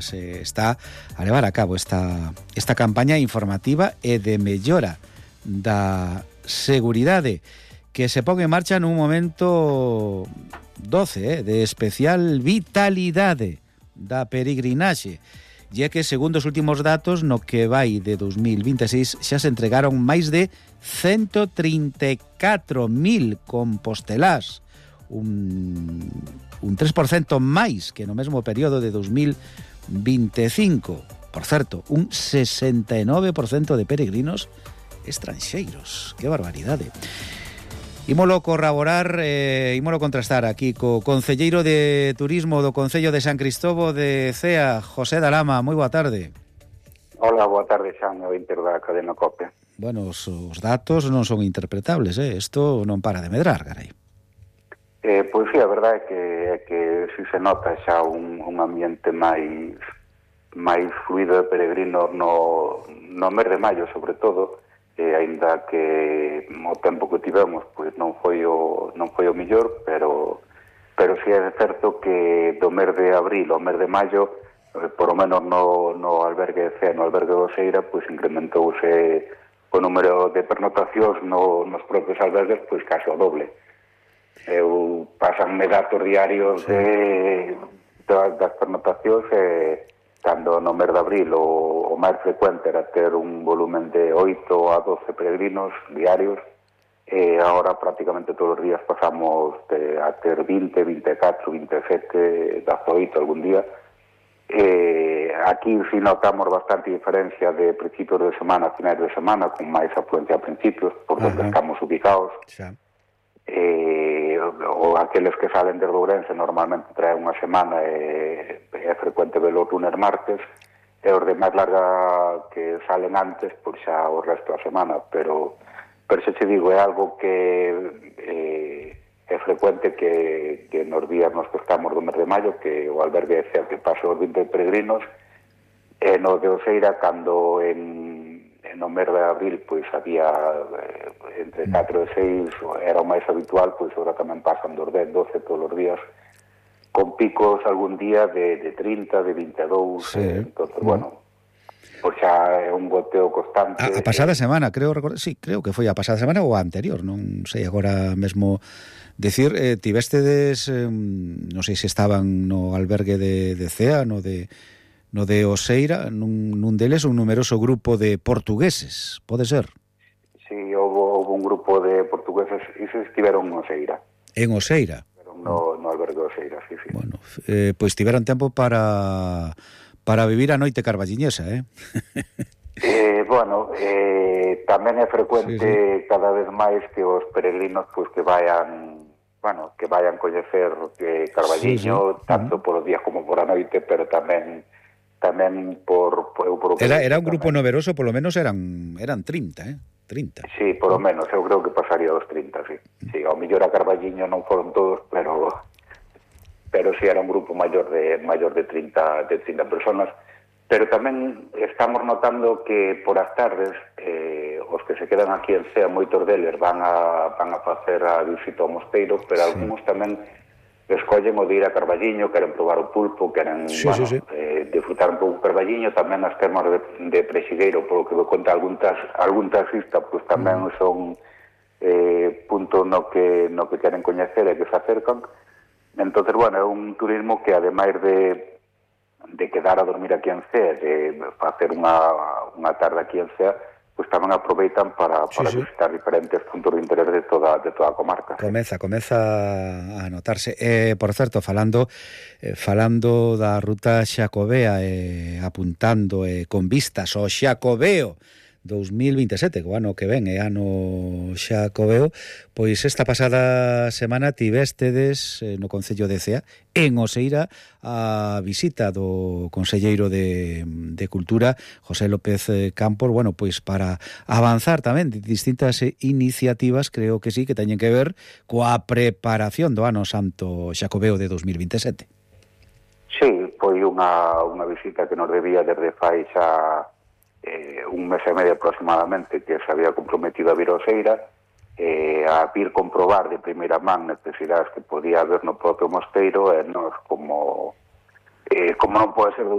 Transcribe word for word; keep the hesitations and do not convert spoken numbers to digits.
se está a levar a cabo esta, esta campaña informativa e de mellora da seguridade que se pon en marcha nun momento doce, eh, de especial vitalidade da peregrinaxe. E é que, segundo os últimos datos, no que vai de dos mil vinte e seis xa se entregaron máis de ciento trinta e catro mil compostelás, un, un tres por cento máis que no mesmo período de dos mil vinte e cinco. Por certo, un sesenta e nove por cento de peregrinos estranxeiros. Que barbaridade. Ímolo corroborar, eh, ímolo contrastar aquí co concelleiro de Turismo do Concello de San Cristovo de Cea, José Dalama. Moi boa tarde. Hola, boa tarde, Xan, o inter da cadena COPE. Bueno, os, os datos non son interpretables, eh? Isto non para de medrar, carai. Eh, pois sí, a verdade é que, é que si se nota xa un, un ambiente máis máis fluido de peregrinos no, no mes de maio, sobre todo, e aínda que o tempo que tivemos pois non foi o non foi o mellor, pero pero si é certo que do mes de abril ao mes de maio, eh, por lo menos no, no albergue de Cea, no albergue de Oseira, pois incrementouse o número de pernotacións no, nos propios albergues pois case o doble. Eu pasanme datos diarios sí. de, das, das pernotacións e cando no mes de abril o, o máis frecuente era ter un volumen de oito a doce peregrinos diarios, e agora prácticamente todos os días pasamos de, a ter vinte, vinte e catro, vinte e sete, dezaoito algún día. E aquí si notamos bastante diferencia de principios de semana a finais de semana, con máis afluencia a principios, por donde estamos ubicados. Sí. E, ou aqueles que salen de Ourense normalmente traen unha semana e é frecuente velo lunes, martes, e os de máis larga que salen antes, pois xa o resto da semana, pero pero se che digo, é algo que eh, é frecuente que, que nos días nos que estamos do mes de maio, que o albergue de Cea que pase os vinte peregrinos, e no de Oseira, cando en no mes de abril pois había eh, entre catro e seis, era o máis habitual, pois agora tamén pasan dos dez, doce todos os días, con picos algún día de, de trinta, de vinte e dous, sí. eh, entonces, mm. bueno, pois xa é un goteo constante. A, a pasada eh, semana, creo, sí, creo que foi a pasada semana ou a anterior, non sei agora mesmo decir, eh, tivestedes, eh, non sei se estaban no albergue de, de Cea, no de no de Oseira, nun, nun deles un numeroso grupo de portugueses, pode ser? Sí, houve, houve un grupo de portugueses e se estiveron en Oseira. En Oseira? No, no albergue de Oseira, sí, sí. Bueno, eh, pois tiveron tempo para para vivir a noite carballiñesa, eh? eh bueno, eh, tamén é frecuente sí, sí. cada vez máis que os peregrinos pois que vayan, bueno, que vayan coñecer eh, Carballiño, sí, sí. tanto uh-huh. por os días como por a noite, pero tamén tamén por... por, por era, era un grupo tamén. Numeroso, polo menos eran eran trinta, eh? trinta. Sí, polo menos, eu creo que pasaría dos trinta, sí. Sí, ao mellor a Carballiño non foron todos, pero pero sí era un grupo maior de maior de trinta, de trinta personas. Pero tamén estamos notando que por as tardes eh, os que se quedan aquí en Cea, moitos deles van a, van a facer a visita ao mosteiro, pero sí. algúns tamén escollen o de ir a Carballiño, queren probar o pulpo, queren sí, bueno, sí, sí. Eh, disfrutar un pouco Carballiño, tamén as termas de, de Prexigueiro, polo que vou contar algún, tas, algún taxista, pois tamén mm. son eh, punto no que, no que queren coñecer e que se acercan. Entonces, bueno, é un turismo que ademais de de quedar a dormir aquí en Cea, de facer unha, unha tarde aquí en Cea, pois tamén aproveitan para, para sí, sí. visitar diferentes puntos de interés de toda, de toda a comarca. Comeza, comeza a notarse. Eh, por certo, falando eh, falando da ruta xacobea, eh, apuntando eh, con vistas ao Xacobeo dos mil vinte e sete, que o ano que ven é ano xacobeo, pois esta pasada semana tivestedes eh, no Concello de Cea, en Oseira, a visita do conselleiro de, de Cultura, José López Campos, bueno, pois para avanzar tamén de distintas iniciativas, creo que sí, que teñen que ver coa preparación do ano santo xacobeo de dos mil vinte e sete. Sí, foi unha, unha visita que nos debía desde fai xa Eh, un mes e medio aproximadamente que se había comprometido a vir a Oseira, eh, a vir comprobar de primeira man necesidades que podía haber no propio mosteiro, e nos como eh, como non pode ser de